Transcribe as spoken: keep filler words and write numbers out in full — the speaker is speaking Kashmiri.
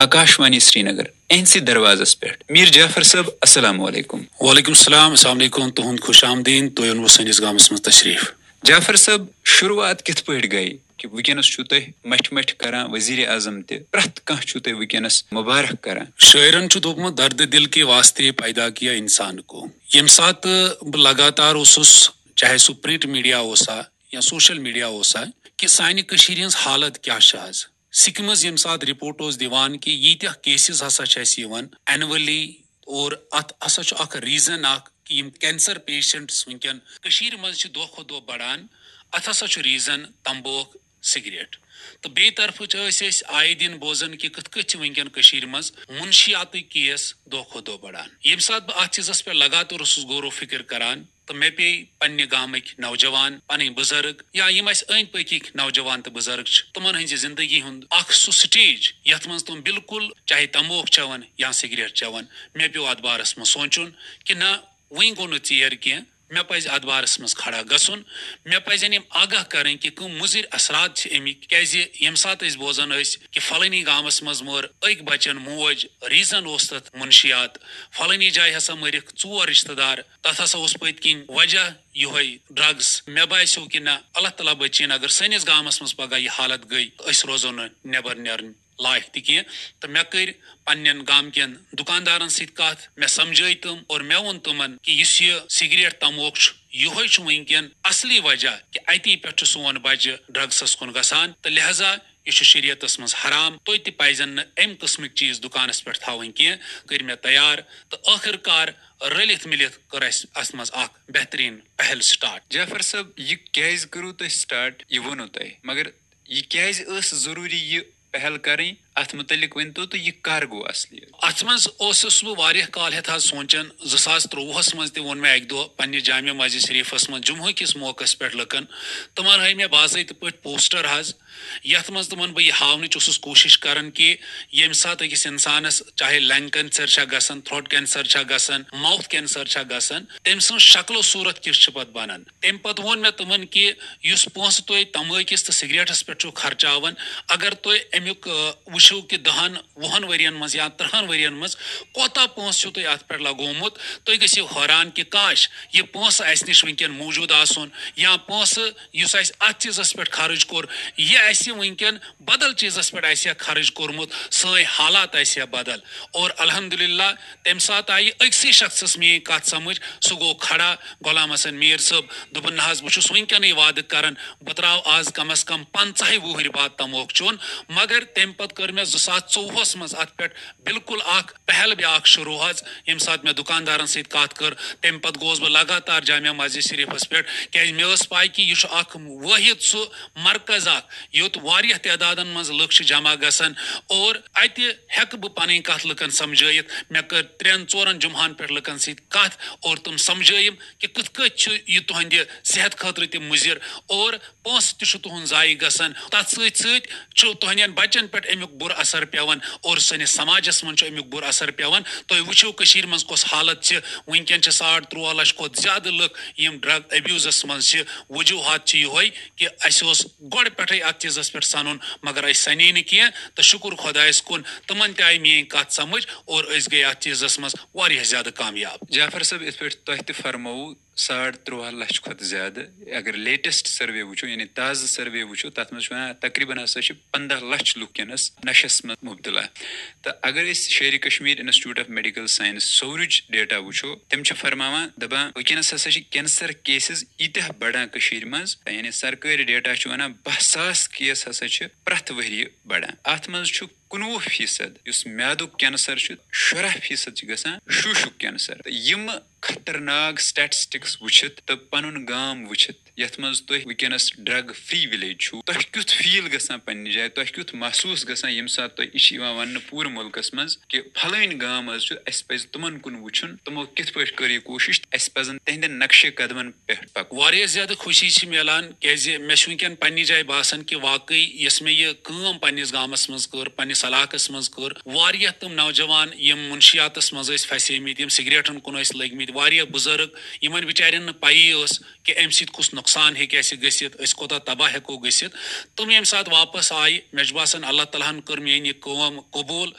آکاشوانی سرینگر، اہنسٕے دروازس پٮ۪ٹھ۔ میر جعفر صٲب، السلام علیکم۔ وعلیکم السلام، السلام علیکم، تُہُنٛد خۄش آمدید، تُہۍ اوٚنوٕ سٲنِس گامس منٛز تشریف۔ جعفر صٲب، شروعات کِتھ پٲٹھۍ گٔے کہِ وٕنکیٚنس چھُو تُہۍ مٹھِ مٹھِ کران وزیر اعظم تہِ، پرٛٮ۪تھ کانٛہہ چھُو تُہۍ وٕنکیٚنس مبارک کران؟ شٲعرن چھُ دوٚپمُت، "درد دل کے واسطے پیدا کیا انسان کو۔" ییٚمہِ ساتہٕ بہٕ لگاتار اوسُس، چاہے سُہ پرنٹ میڈیا اوسا یا سوشل میڈیا اوسا، کہِ سانہِ کٔشیٖرِ ہٕنٛز حالت کیٛاہ چھِ آز۔ سِکہِ منٛز ییٚمہِ ساتہٕ رپورٹ اوس دِوان کہِ ییٖتیٛاہ کیسز ہسا چھِ اَسہِ یِوان اینولی، اور اَتھ ہسا چھُ اکھ ریزن اکھ کہِ یِم کینسر پیشنٹس وٕنکیٚن کٔشیٖرِ منٛز چھِ دۄہ کھۄتہٕ دۄہ بڑان، اَتھ ہسا چھُ ریزن تمبوکھ، سگریٹ۔ تہٕ بیٚیہِ طرفہٕ چھِ أسۍ أسۍ آیہِ دِن بوزان کہِ کِتھ کٔنۍ چھِ وٕنکیٚن کٔشیٖرِ منٛز منشیاتٕکۍ کیس دۄہ کھۄتہٕ دۄہ بڑان۔ ییٚمہِ ساتہٕ بہٕ اَتھ چیٖزس پٮ۪ٹھ لگاتار اوسُس غور و فکر کران، تہٕ مےٚ پیٚیہِ پننہِ گامٕکۍ نوجوان، پنٕنۍ بُزرگ یا یِم اَسہِ أنٛدۍ پٔکِکۍ نوجوان تہٕ بُزرگ چھِ، تِمن ہٕنٛزِ زندگی ہُنٛد اکھ سُہ سٹیج یتھ منٛز تِم بالکل چاہے تموک چٮ۪ون یا سگریٹ چٮ۪ون۔ مےٚ پیوٚو اتھ بارس منٛز سونٛچُن کہِ نہ، وُنہِ گوٚو نہٕ ژیر کینٛہہ، مےٚ پزِ اتھ بارس منٛز کھڑا گژھُن۔ مےٚ پزن یِم آگاہ کرٕنۍ کہِ کم مُضر اثرات چھِ امیِکۍ، کیازِ ییٚمہِ ساتہٕ أسۍ بوزان ٲسۍ کہِ فلٲنی گامس منٛز مٲر أکۍ بچن موج، ریزن اوس تتھ منشیات، فلٲنی جایہِ ہسا مٔرِکھ ژور رشتہٕ دار، تتھ ہسا اوس پٔتۍ کِنۍ وجہ یِہوٚے ڈرگس۔ مےٚ باسیو کہِ نہ، اللہ تعالیٰ بچٲیِن، اگر سٲنِس گامس منٛز پگاہ یہِ حالت گٔے، أسۍ روزو نہٕ نٮ۪بر نیرٕنۍ لایق تہِ کینٛہہ۔ تہٕ مےٚ کٔرۍ پننٮ۪ن گامہٕ کٮ۪ن دُکاندارن سۭتۍ کتھ، مےٚ سمجھٲے تِم اور مےٚ ووٚن تِمن کہِ یُس یہِ سگریٹ تموک چھُ، یِہوٚے چھُ وٕنکیٚن اصلی وجہ کہِ اتی پٮ۪ٹھ چھُ سون بچہِ ڈرگسس کُن گژھان، تہٕ لہذا یہِ چھُ شریعتس منٛز حرام۔ تۄہہِ تہِ پزن نہٕ امہِ قٕسمٕکۍ چیٖز دُکانس پٮ۪ٹھ تھاوٕنۍ کینٛہہ۔ کٔرۍ مےٚ تیار، تہٕ ٲخٕر کار رٔلِتھ مِلِتھ کٔر اَسہِ اَتھ منٛز اکھ بہتریٖن پہل سٹارٹ۔ جعفر صٲب، یہِ کیازِ کٔرٕو تۄہہِ سٹارٹ، یہِ ووٚنوٕ تۄہہِ، مگر یہِ کیازِ ٲس ضروٗری یہِ پہل کرٕنۍ؟ اتھ متعلق ؤنۍ تو تہٕ یہِ کر گوٚو اصلی؟ اتھ منٛز اوسُس بہٕ واریاہ کال ہٮ۪تھ حظ سونٛچان۔ زٕ ساس ترٛۆوُہس منٛز تہِ ووٚن مےٚ اکہِ دۄہ پننہِ جامع مسجد شریفس منٛز جمعہ کِس موقعس پٮ۪ٹھ لُکن۔ تِمن ہٲوۍ مےٚ باضٲبطہٕ پٲٹھۍ پوسٹر حظ، یتھ منٛز تِمن بہٕ یہِ ہاونٕچ اوسُس کوٗشش کران کہِ ییٚمہِ ساتہٕ أکِس انسانس چاہے لنگ کینسر چھا گژھان، تھروٹ کینسر چھا گژھان، ماؤتھ کینسر چھا گژھان، تٔمۍ سٕنٛز شکل و صوٗرت کِژھ چھِ پتہٕ بنان۔ تمہِ پتہٕ ووٚن مےٚ تِمن کہِ یُس پونٛسہٕ تُہۍ تمٲکِس تہٕ سگریٹس پٮ۪ٹھ چھِو خرچاوان، اگر تُہۍ امیُک، آ، وٕچھِو کہِ دہن وُہن ؤرین منٛز یا ترٕہن ؤرین منٛز کوتاہ پونٛسہٕ چھُو تۄہہِ اتھ پٮ۪ٹھ لگومُت، تُہۍ گٔژھِو حٲران کہِ کاش، یہِ پونٛسہٕ اسہِ نِش وٕنکیٚن موٗجوٗد آسُن، یا پونٛسہٕ یُس اسہِ اتھ چیٖزس پٮ۪ٹھ خرٕچ کوٚر، یہِ اسہِ وٕنکیٚن بدل چیٖزس پٮ۪ٹھ آسہِ ہا خرٕچ کوٚرمُت، سٲنۍ حالات آسہِ ہا بدل۔ اور الحمدللہ، تمہِ ساتہٕ آیہِ أکسٕے شخصس میٲنۍ کتھ سمجھ، سُہ گوٚو کھڑا، غلام حسن میر صٲب۔ دوٚپُن، نہ حظ، بہٕ چھُس وٕنکیٚنٕے وعدٕ کران، بہٕ ترٛاوٕ آز کم از کم پنٛژاہہِ وُہٕرۍ بعد تموک چیوٚن۔ مگر تمہِ پتہٕ کٔر مےٚ زٕ ساس ژوٚوُہس منٛز اتھ پٮ۪ٹھ بالکل اکھ پہل بیاکھ شروع حظ۔ ییٚمہِ ساتہٕ مےٚ دُکاندارن سۭتۍ کتھ کٔر، تمہِ پتہٕ گوس بہٕ لگاتار جامع مسجد شریفس پٮ۪ٹھ، کیازِ مےٚ ٲس پاے کہِ یہِ چھُ اکھ وٲحد سُہ مرکز اکھ، یوٚت واریاہ تعدادن منٛز لُکھ چھِ جمع گژھان اور اتہِ ہیٚکہٕ بہٕ پنٕنۍ کتھ لُکن سمجھٲیِتھ۔ مےٚ کٔر ترٛٮ۪ن ژورن جمعہن پٮ۪ٹھ لُکن سۭتۍ کتھ اور تِم سمجھٲیِم کہِ کِتھ کٔنۍ چھُ یہِ تُہنٛدِ صحت خٲطرٕ تہِ مُضر اور پونٛسہٕ تہِ چھُ تُہُنٛد ضایع گژھان۔ تتھ سۭتۍ سۭتۍ چھُ تُہنٛدٮ۪ن بچن پٮ۪ٹھ امیُک بُرٕ اثر پٮ۪وان اور سٲنِس سماجس منٛز چھُ امیُک بُرٕ اثر پٮ۪وان۔ تُہۍ وٕچھِو کٔشیٖرِ منٛز کۄس حالت چھِ۔ وٕنکیٚن چھِ ساڑ ترٛواہ لچھ کھۄتہٕ زیادٕ لُکھ یِم ڈرگ ابیوزس منٛز چھِ۔ وجوہات چھِ یِہوٚے کہِ اسہِ اوس گۄڈٕ پٮ۪ٹھے اتھ چیٖزس پٮ۪ٹھ سنُن، مگر أسۍ سنے نہٕ کینٛہہ۔ تہٕ شُکر خۄدایس کُن، تِمن تہِ آیہِ میٲنۍ کتھ سمجھ اور أسۍ گٔے اتھ چیٖزس منٛز واریاہ زیادٕ کامیاب۔ جعفر صٲب، یِتھ پٲٹھۍ تۄہہِ تہِ فرمووُ، ساڑ ترٛواہ لچھ کھۄتہٕ زیادٕ، اگر لیٹسٹ سروے وٕچھو، یعنی تازٕ سروے وٕچھو، تتھ منٛز چھُ ونان تقریباً ہسا چھِ پنٛداہ لچھ لُکھ وٕنکیٚنس نشس منٛز مبتلا۔ تہٕ اگر أسۍ Sher Kashmir institute of medical science سورٕچ ڈیٹا وٕچھو، تِم چھِ فرماوان، دپان، وٕنکیٚنس ہسا چھِ کینسر کیسز ییٖتیٛاہ بڑان کٔشیٖرِ منٛز، یعنی سرکٲرۍ ڈیٹا چھُ ونان، باہ ساس کیس ہسا چھِ پرٛٮ۪تھ ؤریہِ بڑان۔ اتھ منٛز چھُ کُنوُہ فیصد یُس میادُک کینسر چھُ، شُراہ فیصد چھِ گژھان شوٗشُک کینسر۔ تہٕ یِم خطرناک سٹیٹسٹکس وٕچھِتھ تہٕ پنُن گام وٕچھِتھ، یتھ منٛز تُہۍ وٕنکیٚنس ڈرگ فری ولیج چھِو، تۄہہِ کیُتھ فیل گژھان پننہِ جایہِ، تۄہہِ کیُتھ محسوس گژھان، ییٚمہِ ساتہٕ تۄہہِ یہِ چھِ یِوان وننہٕ پوٗرٕ مُلکس منٛز کہِ فلٲنۍ گام حظ چھُ، اسہِ پزِ تِمن کُن وٕچھُن، تِمو کِتھ پٲٹھۍ کٔر یہِ کوٗشش، تہٕ اسہِ پزن تِہنٛدٮ۪ن نقشے قدمن پٮ۪ٹھ پکُن۔ واریاہ زیادٕ خوشی چھِ میلان، کیازِ مےٚ چھُ وٕنکیٚن پننہِ جایہِ باسان کہِ واقعی یۄس مےٚ یہِ کٲم پننِس گامس منٛز کٔر، پننِس علاقس منٛز کٔر، واریاہ تِم نوجوان یِم منشیاتس منٛز ٲسۍ پھسیمٕتۍ، یِم سگریٹن کُن ٲسۍ لٔگمٕتۍ، واریاہ بُزرگ، یِمن بِچارٮ۪ن نہٕ پیی ٲس کہِ امہِ سۭتۍ کُس نۄقصان ہیٚکہِ اسہِ گٔژھِتھ، أسۍ کوتاہ تباہ ہیٚکو گٔژھِتھ۔ تِم ییٚمہِ ساتہٕ واپس آیہِ، مےٚ چھُ باسان اللہ تعالیٰ ہن کٔر میٲنۍ یہِ کٲم قبوٗل۔